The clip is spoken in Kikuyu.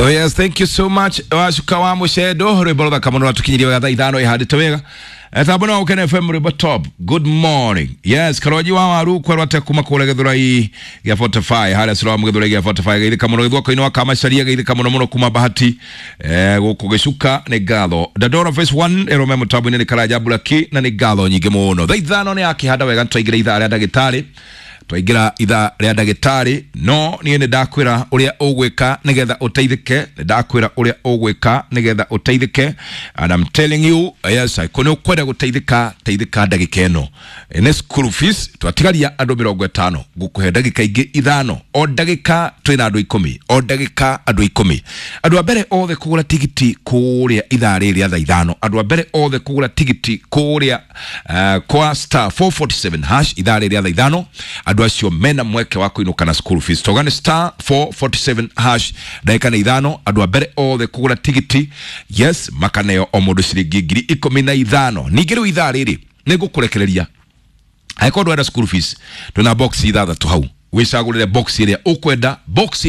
Oh yes, thank you so much. Wacuka wa mucendo rwimbo ruthaka muno rwatukinyirie wega thaa 5 ihandite wega. Tambo no Ukene FM rwimbo top. Good morning. Yes, karoji wa waru kwerwo ate kuma kũrĩa Gĩthũrai gĩa 45 harĩa Siloam Gĩthũrai gĩa 45 geithĩka mũno gĩthwako-inĩ wa Kamacaria geithĩka mũno mũno kuma Bahati gũkũ gĩcuka nĩ ngatho. Dandora phase 1 ĩrome mũtambo-inĩ nĩ Karanja Buraki na nĩ ngatho nyingĩ mũno. Thaa 5 nĩ yakĩhanda wega twaingĩra ithaa rĩa ndagĩtarĩ twaingĩra ithaa rĩa ndagĩtarĩ no niĩ nĩ ndakwĩra ũrĩa ũgwĩka nĩgetha ũteithĩke, nĩ ndakwĩra ũrĩa ũgwĩka nĩgetha ũteithĩke, and I'm telling you, yes, kũ nĩ ũkwenda gũteithĩka, teithĩka ndagĩka ĩno. Nĩ school fees twatigaria andũ 50, ngũkũhe ndagĩka ingĩ 5, o ndagĩka twĩna andũ 10, o ndagĩka andũ 10. Andũ a mbere othe kũgũra tigiti kũrĩa ithaa rĩrĩ rĩa thaa 5, andũ a mbere othe kũgũra tigiti kũrĩa kwa star 447 hash ithaa rĩrĩ rĩa thaa 5, andũ acio mena mweke wa kũinũka na school fees. Toga nĩ star 447 hash ndagĩka nĩ 5, andũ a mbere othe kũgũra tigiti, yes, makaneo o mũndũ ciringi 15,000. Ningĩ rĩu ithaa rĩrĩ nĩ ngũkũrekereria angĩkorwo ndwenda school fees, twĩna box 6 hau, wĩcagũrĩre box ĩrĩa ũkwenda, box.